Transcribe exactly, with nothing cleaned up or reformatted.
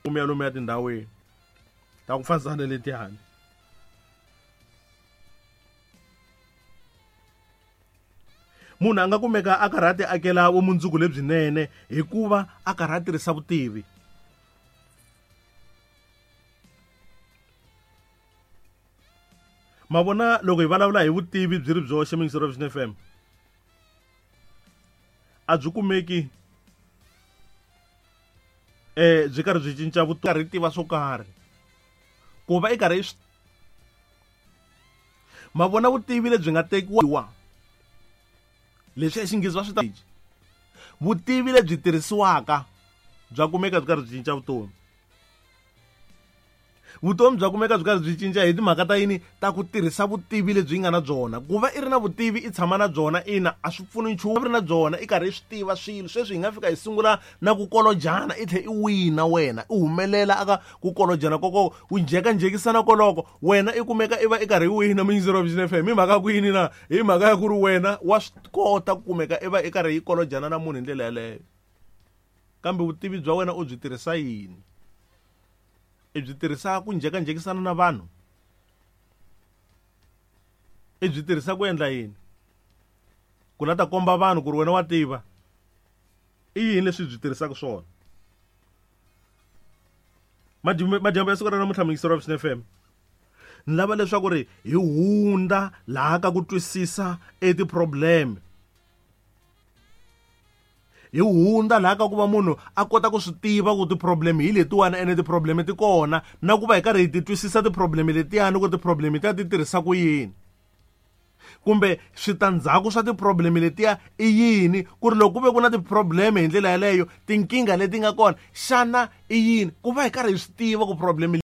Mi ya lomuya tindhawini ta ku fanisa na letiyani. Munhu a nga kumeka a karhi a ti akela vumundzuku lebyinene hikuva a karhi a tirhisa vutivi. Ma vona loko hi vulavula hi vutivi byi ri byoxe Mixer of F M, a byi kumeki eh byi karhi byi cinca vutomi, karhi tiva swo karhi ku va i karhi swi ma vona vutivi lebyi nga tekiwa leswi exinghezi va swi ta vutivi lebyi tirhisiwaka bya kumeka byi karhi byi cinca vutomi. Vutomi bya kumeka byi karhi byi cinca hi timhaka ta yini? Ta ku tirhisa vutivi lebyi nga na byona. Ku va i ri na vutivi i tshama na byona ina a swi pfuni nchumu, i ri na byona i karhi i swi tiva swilo. Sweswi hi nga fika hi sungula na ku kolojana i tlhe i wina wena, i humelela aka ku kolojana koko ku njhekanjhekisana koloko wena i kumeka i va i karhi i wina Mixer of F M. Hi mhaka ku yini na? Hi mhaka ya ku ri wena wa swi kota ku kumeka i va i karhi i kolojana na munhu hi ndlela yaleyo. Kambe vutivi bya wena u byi tirhisa yini? I byi tirhisa ku njhekanjhekisana na vanhu? I byi tirhisa ku endla yini? Ku la ta komba vanhu ku ri wena wa tiva? I yini leswi byi tirhisaka swona? Madyambu ya siku ra namuntlha Mixer of F M, ni lava leswaku ri hi hundza laha ka ku twisisa e ti-problem. Hi hundza laha ka ku va munhu a kota ku swi tiva ku ti-problem hi letiwani ene ti-problem ti kona, na ku va hi karhi hi ti twisisa ti-problem letiyani ku ti-problem ta ti tirhisa ku yini, kumbe switandzhaku swa ti-problem letiya i yini, ku ri loko ku ve ku na ti-problem hi ndlela yaleyo tinkingha leti nga kona xana i yini, ku va hi karhi hi swi tiva ku problem